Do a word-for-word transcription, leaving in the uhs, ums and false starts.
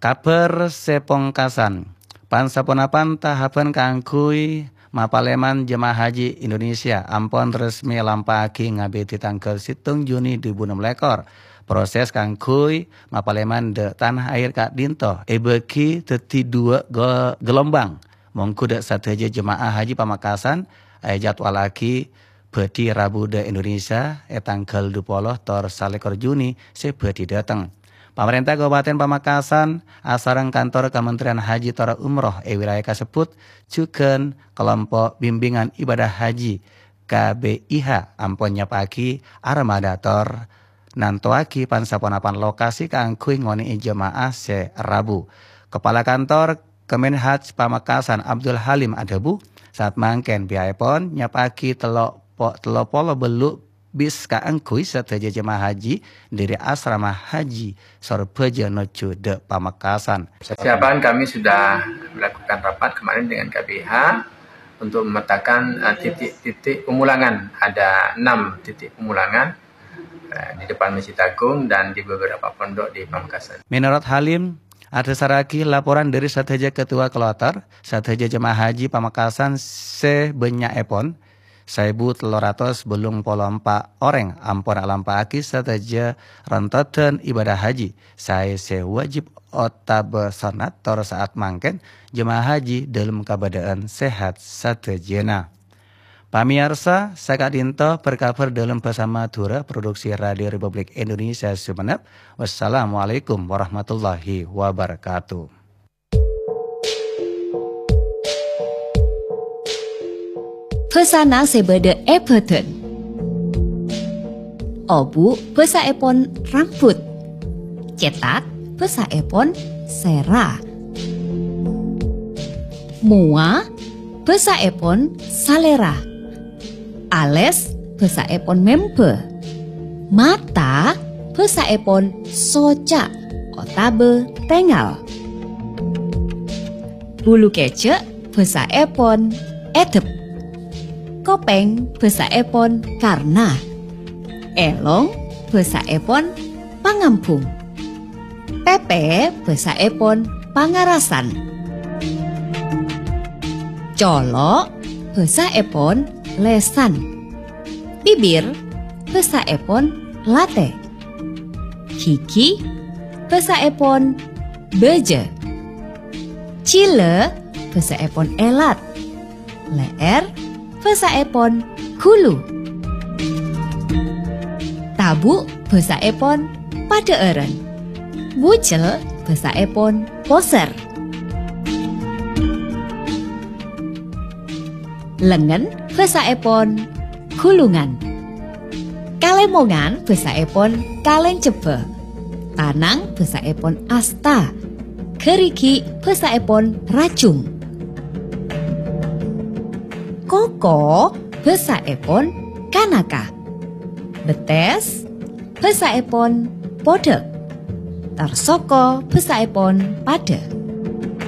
Kabhâr sè pongkasan, pan-saponapan tahapan kaangghuy mapalèman jemaah haji Indonesia ampon resmi èlampa'aghi ngabidhi tangghâl sèttong Juni duwâ èbu ennem lèkor. Proses kaangghuy mapalèman dâ' Tanah Air ka'dinto èbâgi dhâddhi duwâ' go-, gelombang. Mongghu dâ' sadhâjâ jemaah haji Pamekasan èjadwalaghi bhâdhi Rabu dâ' Indonesia è tangghâl duwâ polo tor salèkor Juni sè bhâdhi dâteng. Pamarènta Kabupaten Pamekasan asareng kantor Kementerian Haji tor Umroh è wilayah kasebbhut jhughân Kelompok Bimbingan Ibadah Haji K B I H ampon nyapa'aghi armada tor nantowaghi pan-saponapan lokasi kaangghuy ngonè'è jemaah sè rabu. Kepala Kantor Kemenhaj Pamekasan Abdul Halim adhâbu, saat mangkèn piha'èpon nyapa'aghi tello po-, tello polo bâllu' bis kaangghuy sadhâjâ jemaah haji dâri asrama haji Sorbhâjâ nojjhu dâ' Pamekasan. Persiapan kami sudah melakukan rapat kemarin dengan K B H untuk memetakan, eh, titik-titik pemulangan. Ada enam titik pemulangan, eh, di depan Masjid Agung dan di beberapa pondok di Pamekasan. Menurut Halim, adhâsarraghi laporan dâri sadhâjâ ketua kloter, sadhâjâ jemaah haji Pamekasan sè bânnya'èpon, saèbu tello ratos bâllung polo empa' orèng ampon alampa'aghi sadhâjâ rantodhân ibadah haji, saè sè wajib otabâ sonnat, tor saat mangkèn jemaah haji dâlem kabâdâ'ân sehat sadhâjâna. Pamèyarsa, saka'dinto berkabar dâlem bhâsa Madhurâ, produksi Radio Republik Indonesia Sumenep. Wassalamualaikum warahmatullahi wabarakatuh. Bhâsana sè bâdâ è bhâdhân. Obu' bhâsaèpon rambut. Cètak bhâsaèpon sèra. Mowa bhâsaèpon salèra. Alès bhâsaèpon mèmbâ. Mata bhâsaèpon soca' otabâ tèngal. Bulu kèjhâ' bhâsaèpon èdhep. Kopèng bhâsaèpon karna. Èlong bhâsaèpon pangambhung. Pèpè bhâsaèpon pangarasan. Colo' bhâsaèpon lèsan. Bibir bhâsaèpon latè. Ghighi bhâsaèpon bâjâ. Jhilâ bhâsaèpon èlat. Lè'èr bhâsaèpon ghulu. Tabu' bhâsaèpon padhâ'ârân. Bucel bhâsaèpon posèr. Lengngen bhâsaèpon ghulungan. Kalèmongan bhâsaèpon kalèncebbhâ. Tanang bhâsaèpon asta. Ghârighi' bhâsaèpon rajung. Koko bhâsaèpon kanaka. Bettès bhâsaèpon podhâk. Tarsoko bhâsaèpon padâ.